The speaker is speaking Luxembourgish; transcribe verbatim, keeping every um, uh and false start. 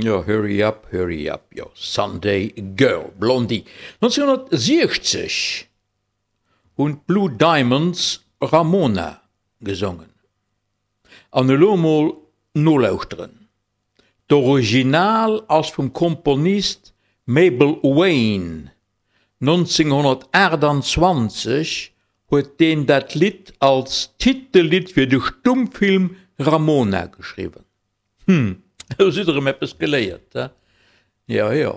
Jo, Hurry Up, Hurry Up, jo, Sunday Girl, Blondie. nonzénhonnertsiechzeg hunn d'Blue Diamonds Ramona gesongen. An elo mol nolauschteren, D'Original ass vum Komponist Mabel Wayne, nonzénhonnertaachtanzwanzeg huet deen dat Lidd als Titellidd fir de Stummfilm Ramona geschriwwen. Hm, elo sidd der erëm eppes geléiert, he? Jo, jo.